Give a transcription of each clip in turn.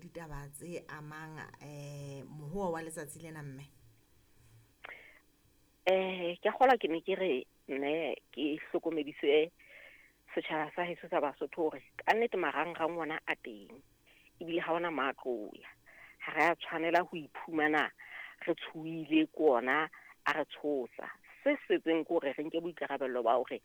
ditaba tse amang mohoa wa letsatsi lena mme. Ke a kgolwa ke ne ke re mme ke hlokomedise setjhaba sa heso sa Basotho hore ka nnete marangrang ona a teng ebile ha ona matlo ya. Ha re a tshwanela ho iphumana re tshohile ke ona a re tshosa. Se setseng ke hore re nke boikarabello ba hore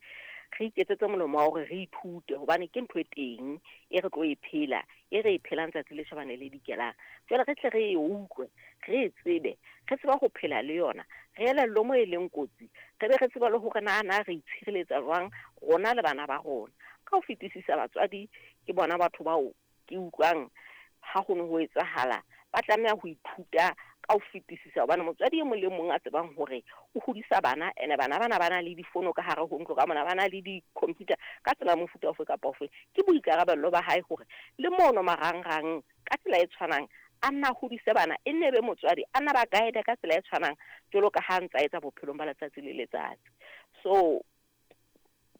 re iketsetse molemo wa hore re ithute hobane ke ntho e teng e re tlo e phela, e re e phelang tsatsi le tjhabang le le dikelang. Jwale re tle re e utlwe, re e tsebe, re tsebe ho phela le yona, re elellwe mo e leng kotsi, re be re tsebe le hore na na re itshireletsa jwang rona le bana ba rona. Ka ho fetisisa batswadi ke bona batho bao ke utlwang ha ho no ho etsahala, ba tlameha ho ithuta ka ho fetisisa hobane motswadi e mong le mong a tsebang hore o hodisa bana ene bana bana ba na le difono ka hare ho ntlo ka mona, ba na le di-computer ka tsela ya mofuta ofe kapa ofe. Ke boikarabello ba hae hore le mono marangrang ka tsela e tshwanang a nna hodise bana, e nne be motswadi a nna ba guide ka tsela e tshwanang jwalo ka ha ntsa etsa bophelong ba letsatsi le letsatsi. So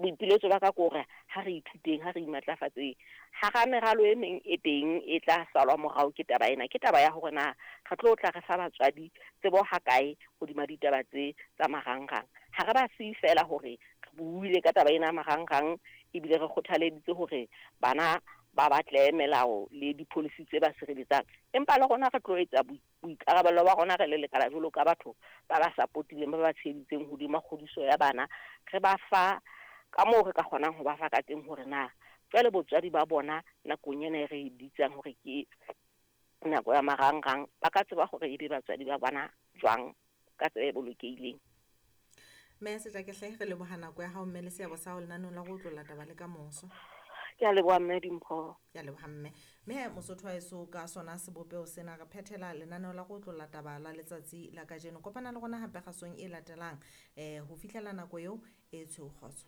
boipiletso ba ka ke hore ha re ithuteng, ha re imatlafatseng. Hara meralo e meng e teng e tla salwa morao ke taba ena, ke taba ya hore na re tlo tla re fa batswadi tsebo ha kae hodima ditaba tse tsa marangrang. Ha re ba siye feela hore re buile ka taba ena ya marangrang ebile re kgothaleditse hore bana ba batle melao le di-policy tse ba sireletsang, empa le rona re tlo etsa boikarabello ba rona re le lekala jwalo ka batho ba ba supportileng, ba ba tsheheditseng hodima kgodiso ya bana. Re ba fa ka moo re ka kgonang ho ba fa ka teng hore na jwale botswadi ba bona nakong ena e re e bitsang hore ke nako ya marangrang, ba ka tseba hore ebe batswadi ba bona jwang ka tsela e bolokehileng. Mme Setlakehle, re leboha nako ya hao mme le seabo sa hao lenaneong la go otlolla taba le kamoso. Ke a leboha mme Dimpho. Ke a leboha mme. Mme Mosotho wa heso ka sona sebopeho sena re phethela lenaneo la go otlolla taba la letsatsi la kajeno. Kopana le rona hape kgasong e latelang ho fihlela nako eo e tshweu kgotso.